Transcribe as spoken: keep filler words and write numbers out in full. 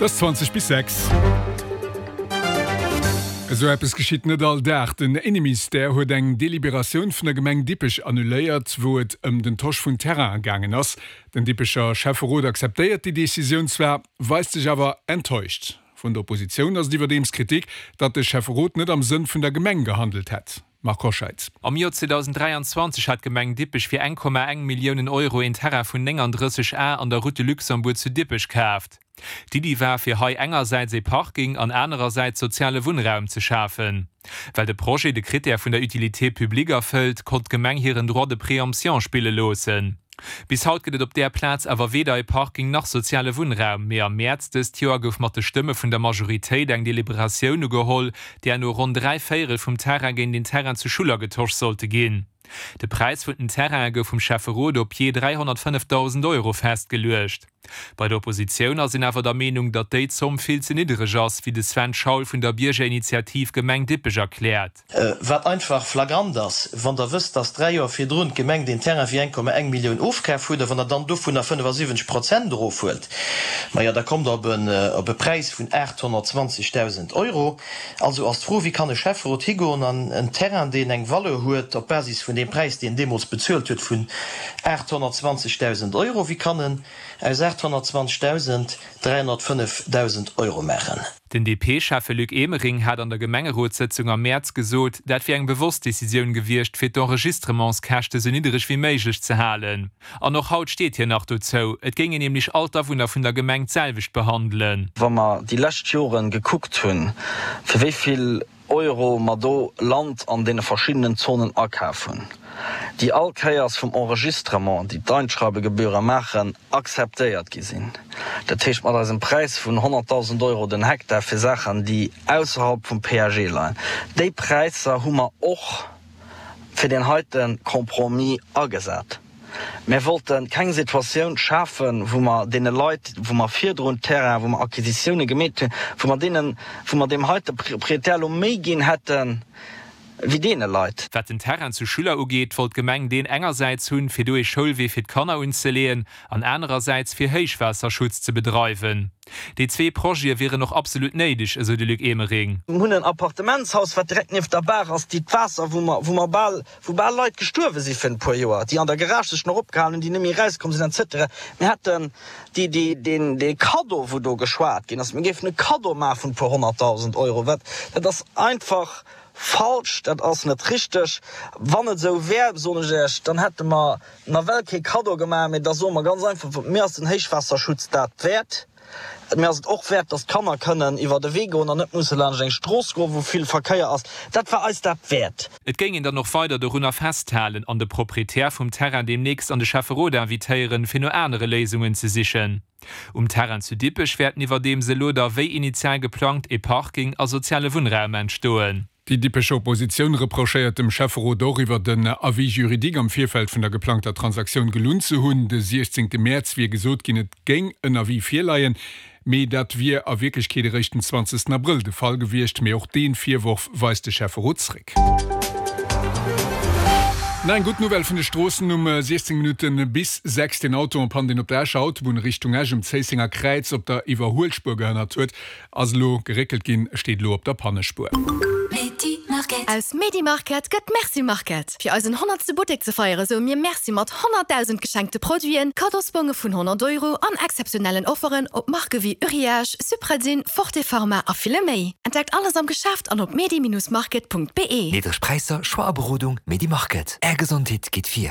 Et ass zwanzeg bis sechs. Esou eppes geschitt net all Dag. Den Inneministère huet eng Deliberatioun vun der Gemeng Dippech annuléiert, wou et ëm den Tosch vun Terraine gaangen ass. Den Dippecher Schäfferot akzeptéiert déi Decisioun zwar, weist sech awer enttäuscht. Vun der Oppositioun ass iwwerdeems Kritik, datt de Schäfferot net am Sënn vun der Gemeng gehandelt hätt. Marc Hoscheid. Am Joer zweedausenddräianzwanzeg hat d'Gemeng Dippech fir eng Komma eng Milliounen Euro een Terrain vun nénganddrësseg Ar an der Route de Luxembourg zu Dippech kaaft. D'Iddi war, fir hei engersäits ee Parking an anerersäits soziale Wunnraum ze schafen. Well de Projet de Critère vun der Utilité publique erfëllt, konnt d'Gemeng hiren Droit de préemption spille loossen. Bis haut gëtt et op där Plaz awer weder e Parking nach soziale Wunnraum. Mee am Mäerz dëst Joer gouf mat de Stëmme vun der Majoritéit eng Deliberatioun ugeholl, där no ronn dräi Véierel vum Terrain géint een Terrain zu Schuller getosch sollte ginn. De Präis vun den Terraine gouf vum Schäfferot op jee dräihonnertfënnefdausend Euro festgeluecht. Bei der Oppositioun ass een awer der Meenung, datt déi Zomm vill ze niddereg ass, wéi de Sven Schaul vun der Biergerinitiativ Gemeng Dippech erkläert. Wat einfach flagrant ass, wann Der wësst, datt dräi Joer virdrun d'Gemeng deen Terrain fir eng Komma eng Millioun ofkaf huet, a wann Der dann dovunner fënnefasiwwenzeg Prozent erofhuelt, majo, da kommt Der op e Präis vun aathonnertzwanzegdausend Euro. Also ass d'Fro, Wéi kann e Schäfferot higoen an en Terrain, deen eng Valeur huet op Basis vun deem Präis, deen en deemools bezuelt huet, vun aathonnertzwanzegdausend Euro, wéi kann en aus aathonnertzwanzegdausend dräihonnertfënnefdausend Euro maachen? Den D P-Schäffe Luc Emering hat an der Gemengerotssëtzung am Mäerz gesot, dat wier eng bewosst Decisioun gewiescht, fir d'Enregistrementskäschte sou niddereg wéi méiglech ze halen. An och haut steet hien nach dozou. Et géing een nämlech all d'Awunner vun der Gemeng d'selwecht behandelen. Wa mer déi lescht Joren gekuckt hunn, fir wéi vill Euro mer do Land an deene verschiddenen Zonen akaf hunn, déi all Kéiers vum Enregistrement, déi d'Einschreibegebühre maachen, akzeptéiert gi sinn, dat heescht mat eisem Präis vun honnertdausend Euro den Hektar fir Saachen, déi ausserhalb vum P A G leien, déi Präisser hu mer och fir deen heite Compromis agesat. Mir wollte keng Situatioun schafen, wou mer deene Leit, wou mer virdrun Terrain, wou mer Acquisitioune gemeet hunn, wou mer deenen, wou mer deem heite Propriétaire elo méi ginn hätten, wéi deene Leit. Wat den Terrain zu Schuller ugeet, wollt d'Gemeng deen engersäits hunn, fir do ee Schoulwee fir d'Kanner unzeleeën, an anerersäits fir Héichwaasserschutz ze bedreiwen. Déi zwee Projete wieren och absolut néideg, esou de Luc Emering. Mir hunn en Appartementshaus, wat direkt nieft der Baach ass, déi d'Waasser, wou mer, wou mer bal, wou bal Leit gestuerwe si virun e puer Joer, déi an der Garage sech nach opgehalen hunn, déi net méi erauskomm sinn, et cetera. Mir hätten déi, déi, deen, dee Kaddo, wou do geschwat ginn ass, mir géifen e Kaddo maache vun e puer honnertdausend Euro, wat, dat ass einfach falsch, dat ass net richteg. Wann et esou wär, soen ech Iech, dann hätte mer nawell kee Kaddo gemaach, mee da soe mer ganz einfach, mir ass den Héichwaasserschutz dat wäert. Mir ass et och wäert, dass d'Kanner kënnen iwwer de Wee goen an net musse laanscht eng Strooss goen, wou vill Verkéier ass. Dat war eis dat wäert. Et géing een dann och weider dorunner festhalen an de Proprietär vum Terrain deemnächst an de Schäfferot invitéieren, fir no anere Léisungen ze sichen. Um Terrain zu Dippech wäerten iwwerdeems elo da wéi initial geplangt ee Parking a soziale Wunnraum entstoen. Déi Dippecher Oppositioun reprochéiert dem Schäfferot och, iwwer den Avis juridique am Virfeld vun der geplangter Transaktioun gelunn ze hunn. De siechzéngte Mäerz wier gesot ginn, et géing en Avis virleien, mee dat wier a Wierklechkeet eréischt den zwanzegsten Abrëll de Fall gewiescht. Mee och dee Virworf weist de Schäfferot zréck. Nach eng gutt Nouvelle vun de Stroossen um siechzéng Minutte bis sechs. Den Auto en panne, deen op der Escher Autobunn Richtung Esch um Zéissenger Kräiz op der Iwwerhuelspuer gehënnert huet, ass elo geréckelt ginn, steet elo op der Pannespuer. Aus Medi Market gëtt Merci Market. Fir eisen honnertste Buttek ze feiere soe mir Merci mat honnertdausend geschenkte Produiten, Kaddosbonge vun honnert Euro an exzeptionellen Offeren op Marke wéi Uriage, Supradyn, Forte Pharma a ville méi. Entdeckt alles am Geschäft an op medi-market Punkt be. Niddreg Präisser, Choix a Berodung, Medi Market. Är Gesondheet geet vir.